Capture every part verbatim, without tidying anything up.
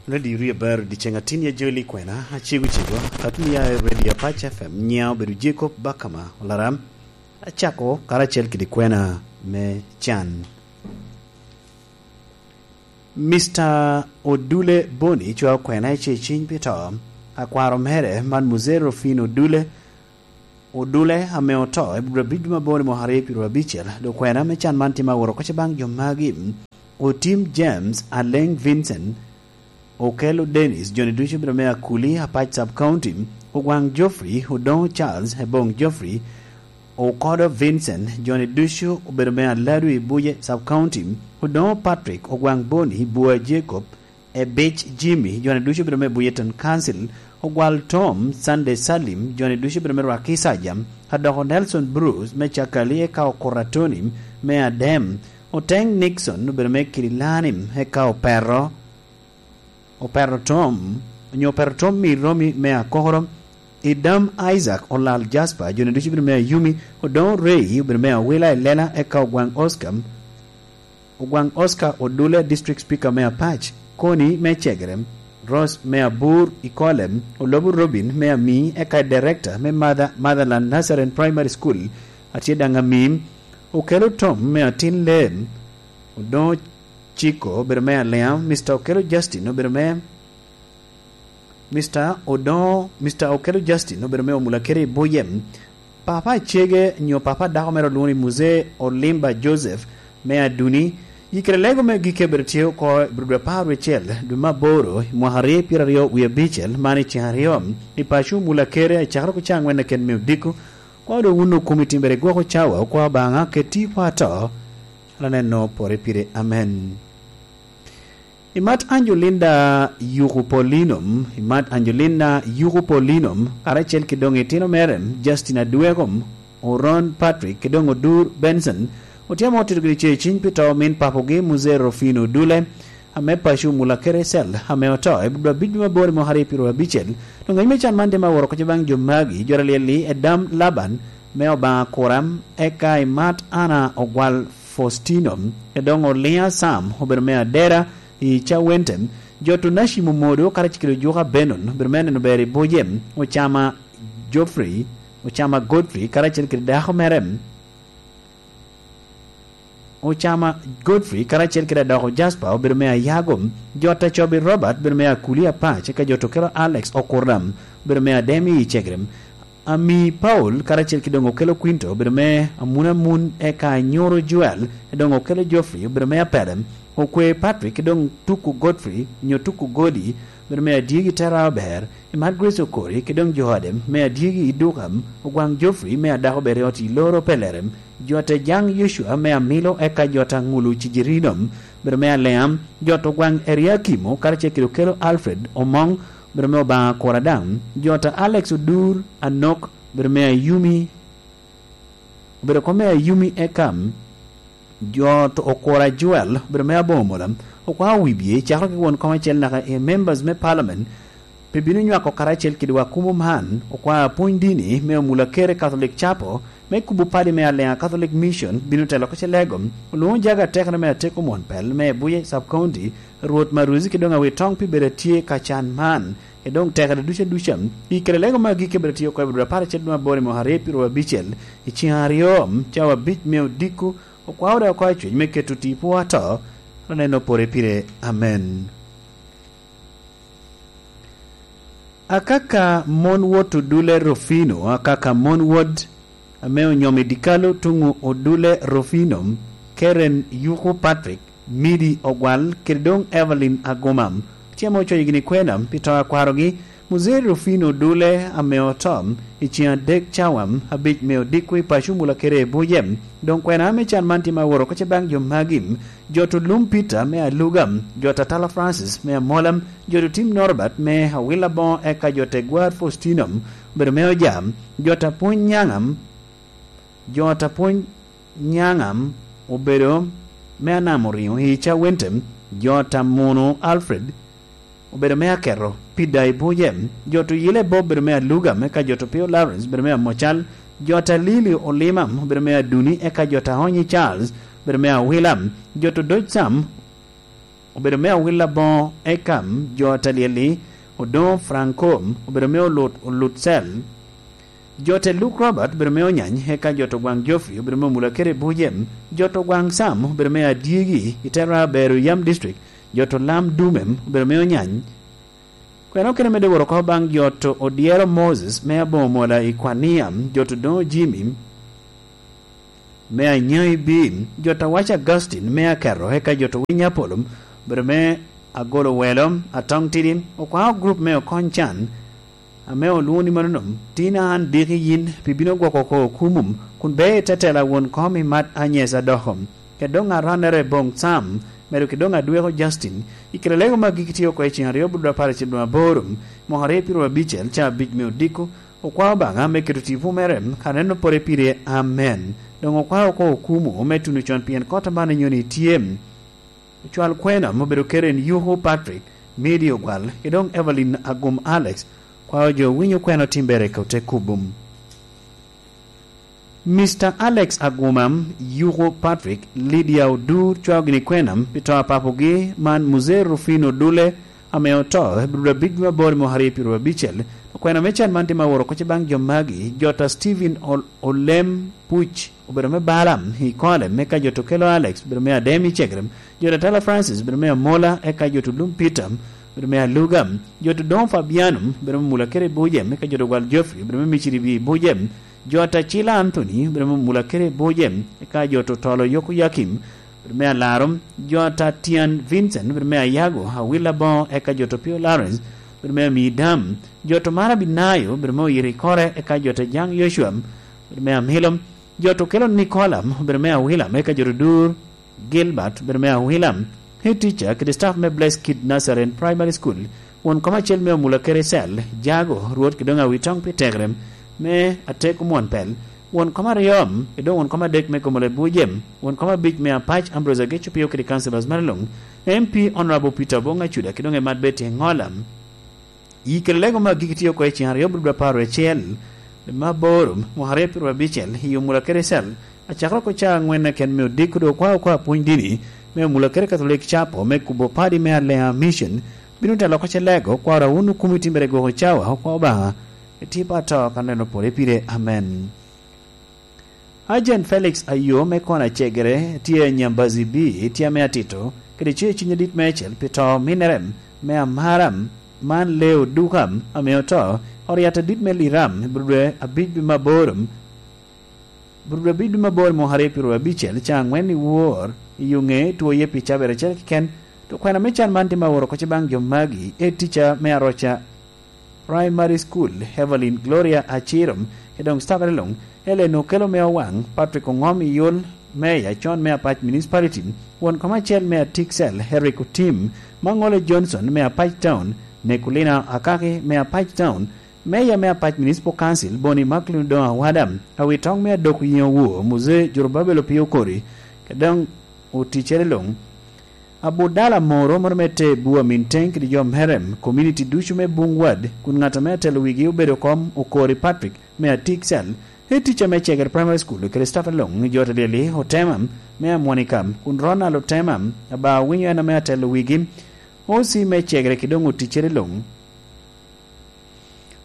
Radio Rio Bar, dyeceŋ atin ya joli kwena, acego cego, atun ya i Radio Apac F M, nyiŋa obedo Jacob Bakama Olaram, acako karacel kede kwena me can. Mister Odule Boni cwao kwena i ceciny pi to, akwaro mere man Muzee Rufino Odule, Odule ame oto i dwe abic me aboro i mwaka aryo pyeraryo abicel, dok kwena me can man tye ma aworo oko baŋ jo magi: Otim James, Aleng Vincent, Okello Dennis, joni ducu obedo me Akuli, Apac Sub County, Ogwaŋ Geoffrey, Odoŋo Charles, Ebong Geoffrey, Okodo Vincent, joni ducu obedo me Aladu i Buje Sub County, Odoŋo Patrick, Ogwaŋ Boni, Bua Jacob, Ebic Jimmy, joni ducu obedo me Buye Town Council, Ogwal Tom, Sunday Salim, joni ducu obedo me Rwakisaja, Adoko Nelson Bruce me Cakali, eka Okura Tony me Adem, Oteŋ Nixon obedo me Kililanim, eka Opero, Opero Tom, onyo Opero Tom Miromi me Akokoro, Idam Isaac Olal Jasper, joni ducu obedo me Ayumi, Odoŋo Ray obedo me Awila i Lela, eka Ogwaŋ Oscar, Ogwaŋ Oscar Odule, District Speaker me Apac, Koni me Cegere, Rose me Abur i Kolem, Olobu Robin me Ami, eka Director me Mother, Motherland Nazarene Primary School, atye daŋ Ami, Okello Tom me Atin Lem, Odoŋo Ciko obedo me Aliam, Mister Okello Justin obedo me Mister Odoŋo, Mister Okello Justin obedo me Omulakere i Buyem. Papa acege nyo papa dako mere olwoŋo ni Muzee Olimba Joseph me Aduni. Yikere lego me gike obedo tye oko i dwe apar wiye acel, dwe me aboro, i mwaka aryo pyeraryo wie abicel, man i ceng aryo, i paco Omulakere, acakere oko cawa aŋwen keken me odiko. Kwa doŋ wun okumi timbere gwoko cawa, okwa Obaŋa, keti i kwa to, aneno pore pire. Amen. Imat Angelina Yuku Polinum, imat Angelina Yuku Polinum, karacel ki doŋ itino mere, Justin Adwekom, Oron Patrick, ki doŋ Odur Benson, otyemo otito gini ce ciny pi to min papogi, Muzee Rufino Dule, ame paco Mula Kerecel, ame oto i dwe abic me aboro i mwaka aryo pyeraryo abicel. Doŋ ŋec me can man tye ma woro kocce baŋ jo magi, jo alyel-li, Edam Laban, me Obaŋa Kuram, eka imat Ana Ogwal Faustino, e doŋ Oliŋa Sam, obedo me Adera, i Cawente, jo Tunashim Omodo, karacel kede Ojuka Benon, obedo me neno ber i Buje, Ocama Geoffrey, Ocama Godfrey, karacel kede dako mere, Ocama Godfrey, karacel kede adoko Jasper, obedo me Ayago, jo Tacobi Robert, obedo me Akuli Apac, eka jo Tokelo Alex Okuram, obedo me Ademi i Cegrem, Ami Paul, karacel ki doŋ Okello Quinto, obedo me Amun Amun, eka Anyoro Joel, doŋ Okello Geoffrey, obedo me Apedem, Okwe Patrick, doŋ Tuku Godfrey, nyo Tuku Godi, obedo me Adyegi Tera Aber, Imat Grace Okori, ki doŋ jo ode me Adyegi i Duka, Ogwaŋ Geoffrey, me Adako Beriot i Loro Pelerem, jo Tejaŋ Yocua, me Amilo, eka jo Taŋulu Cijirino, obedo me Aleam, jo Ogwaŋ Eriakimo, karacel kede Okello Alfred Omoŋ, obedo me Obaŋa Kura daŋ, jo ta Alex Odur Anok, obedo me Ayumi, obedo kom me Ayumi Ekam, jo to Okura Joel, obedo me Abomola, Okwa Wibye, cakere ki won kom acel naka i members me parliament, pe bino nywako karacel kede wa kumo man, Okwa Apwony Dini me Omula Kere Catholic Chapel, me kubo padi me Aleŋa Catholic Mission, bino telo ko Celego, olwoŋo jaga atekere me Ateko Mwon Pel, me Buye Sub County, Rwot Maruzi, ki doŋ awi toŋ pi bedo atye ka can man, e doŋ tekere duca duca. I kare lego me agikki bedo tye oko i dwe apar acel dwe aboro i mwaka aryo pyeraryo abicel, i ceng aryo, cawa abic me odiko, okwao dok oko acwec me keto tipo ato, aneno pore pire. Amen. Akaka mon wot Odule Rufino, akaka mon wot ame onyomo i dikalo tuŋ Odule Rufino, Karen Yuku Patrick, Midi Ogwal, kede doŋ Evelyn Aguma. Tye ame ocoyo gini kwena pi to a kwarogi, Muzee Rufino Odule ame oto i ceng adek cawa abic me odiko i paco Mula Kere i Buje. Doŋ kwena ame can man tye ma woro kocce baŋ jo magi, jo to Lum Peter me Aluga, jo ta Tala Francis me Amola, jo to Tim Norbert me Awila Boŋo, eka jo te Gwar Faustino, obedo me Oja, jo ta Pwony Nyaŋam, jo ta Pwony Nyaŋam, obedo me Anam Oriŋo i Cawente, jo ta Munu Alfred, obedo me Aketo, Pida i Buje, jo to Yile Bob, obedo me Aluga, eka jo to Pio Lawrence, obedo me Amocal, jo ta Lili Olima, obedo me Aduni, eka jo ta Onyi Charles, obedo me Awila, jo to Doj Sam, obedo me Awil Aboŋo, eka jo a Talyeli, Odoŋo Franco, obedo me Olut, Olut Cel. Jo te Luke Robert obedo me Onyany, eka jo to Gwaŋ Geoffrey obedo me Omulakere Bujem. Jo to Gwaŋ Sam obedo me Adyegi, i Tera Bero Yam District. Jo to Lam Dumem obedo me Onyany. Kwena okene medde woro oko baŋ jo to Odyero Moses me Aboŋo Mola i Kwania, jo to Doŋo Jimmy me Anyaŋ i Bim, jo to Awac Augustine me Aketo, eka jo to Winy Apollo obedo me Agolo Welo, Atong Tidi, Okwao Group me Okony Can, ame olwoŋo ni mano nom, tin an diki yin pi bino gwoko oko okumum, kun be i te tela won kom i mat anyesa doko. Kede doŋ arannere boŋ Sam, medo kede doŋ adweko Justin, i kite lego ma gik tye oko i cen aryo bulu apar acel doŋ aboro, mwaka aryo piro abicel, ca abic me odiko, okwao Obaŋa me keto tipo mere, ka neno pore pire, amen. Doŋ okwao oko okumu me tuno con pien kot aman inyoni tye. Ocwal kwena ma obedo kede en Yuko Patrick, Midi Ogwal, ki doŋ Evelyn Agum Alex, kwao jo winyo kwena otimbere ka ote kubum. Mister Alex Aguma, Yuko Patrick, Lydia Odur cwao gini kwena pi to a papogi man Muzee Rufino Dule, ame oto i bur abic me aboro i mwaka aryo piro abicel. Okwena me can man tye ma woro koc baŋ jo magi, jota Stephen Ol-, Olem Puc obedo me Balaam i Kolem, me ka jota Okelo Alex obedo me Adem i Cegrem, jota Tala Francis obedo me Amola, eka jota Olum Peter obedo me Aluga, jota Odongo Fabiano obedo me Mula Kere Bujem, me ka jota Ogwal Geoffrey obedo me Miciri i Bujem, jota Cila Anthony obedo me Mula Kere Bujem, eka jota Otolo Yoko Yakim obedo me Alaro, jota Tian Vincent obedo me Ayago, Awila Boŋo, eka jota Pio Lawrence obedo me Amidam, jota Mara Binayo obedo me Oyito Ikore, eka jota Jaŋ Yocua obedo me Amilo, jota Okelo Nikola obedo me Awila, eka jota Odur Gilbert obedo me Awila, Head Teacher kede staff me Blessed Kid Nazarene Primary School, won kom acel me Omula Kere Cell, Jago, Rwot kede doŋ Awitoŋ pi Tekrem me Atek Omwon Pel, won kom aryo, kede doŋ won kom adek me Gomola Bujem, won kom abic me Apac Ambrose Ageco Pio kede councillors mere luŋ, M P Honorable Peter Obong Acuda kede doŋ Emat Betty Engola. I kede lego me agikki tye oko i cen aryo bulu apar acel, me aboro, mwaka aryo piro abicel, i Omula Kere Cell, acakere oko ca aŋwen keken me odiko doŋ okwao oko apwony dini me Omula Kere Katholik Capo me kubo padi me Alea Mission, bino telo oko ce lego, kwaro awun okumi timbere gwoko cawa, okwao Obaŋa, etipa ato ka neno pore pire. Amen. Ajen Felix Ayo me Kona Cegere tye i Nyambazi B, tye ame atito, kede ce cwiny adit meicel pi to minere me Amara man Leo Duka ame oto, oryat adit me Liram i Burudwe abic me aboro, Burudwe abic me aboro mwaka aryo piro abicel, ca aŋwen i wor i yo ŋe two ye pi cabere acel keken, to kwena me can man tye ma woro koc baŋ jo magi, e tica me Aroca Primary School, Evelyn Gloria Acirom, kede doŋ staff luŋ, Ellen Okelo me Owaŋ, Patrick Oŋom i Yol, Mayor John me Apac Municipality, won kom acel me Atik Cell, Eric Otim, Maŋole Johnson me Apac Town, Nicolina Akaki me Apac Town, Mayor me Apac Municipal Council, Boni Macklin Odoŋo Awada, Awitoŋ me Adok Yiŋo Wur, Muzee Jorobabel Opio Okori, kede doŋ oticere luŋ. Abudala Moro, moro me te Bua Minteng kede jo mere, community ducu me Bung Ward, kun ŋat ame atelo wigi obedo kom Okori Patrick me Atik Cell, e tica me Cegere Primary School kede staff luŋ, jo te Lyeli Otema me Amwonika, kun Ronald Otema, aba winyo en ame atelo wigi, O C me Cegere kede doŋ oticere luŋ.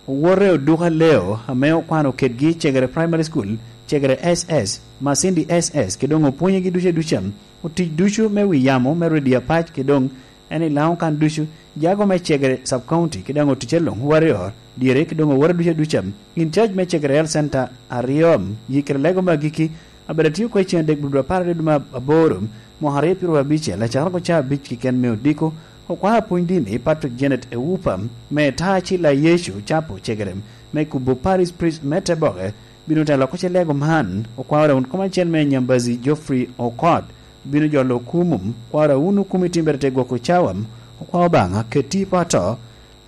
Owote Oduka Leo, ame okwano kedgi Cegere Primary School, Cegere S S, Masindi S S, kede doŋ opwonyegi ducu aduca. Otic ducu me wi yamo me Redio Apac, kede doŋ en i Laŋo kan ducu, jago me Cegere Sub County, kede doŋ oticere luŋ, Warrior, dyere, kede doŋ owote ducu aduca. In charge me Cegere Health Center aryo, yikere lego me agikki, abedo atio oko i cen adek bulu apar aryo dwe me aboro, mwaka aryo piro abicel, acakere oko ca abic keken me odiko, okwao apwony dini Patrick Janet Ewupa, me Taci la Yecu Capo Cegere, me kubo Parish Priest me Teboke, bino telo oko ce lego man, okwao rawun kom acel me Nyambazi Geoffrey Okot, bino jolo okumum, kwao rawun okumi timbere te gwoko cawam, okwao Obaŋa, keti i poto,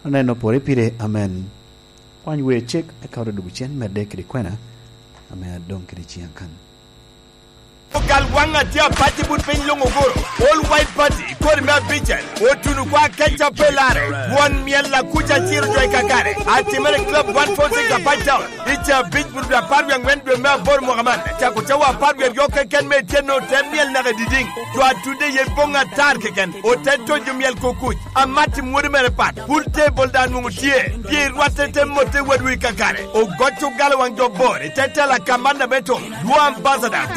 aneno pore pire, amen. Kwany wer cek, eka ote dwogo cen medde kede kwena, ame adoŋ kede ciŋ akan. Ogal waŋ atye apac i but piny luŋ oguro. All White Party, kodi me abicel, otuno kwa keca pe lare. Won myel akuca ciro jo i kakare. Atimere Club one four six Apac Town. I ca abic but dwe apar wie aŋwen dwe me aboro mwaka man. Cako cawa apar wie aryo keken me ityen ote myel naka i didiŋ. Jo atudde ye boŋ atar keken. Ote tojo myel kukuc. Amat i mwodi mere pat. Pool table daŋ nwoŋo tye. Pye rwatte te motte wadwu i kakare. Ogoc ogalo waŋ jo bor. I te tela kamanna me tum. Dwo ambassador.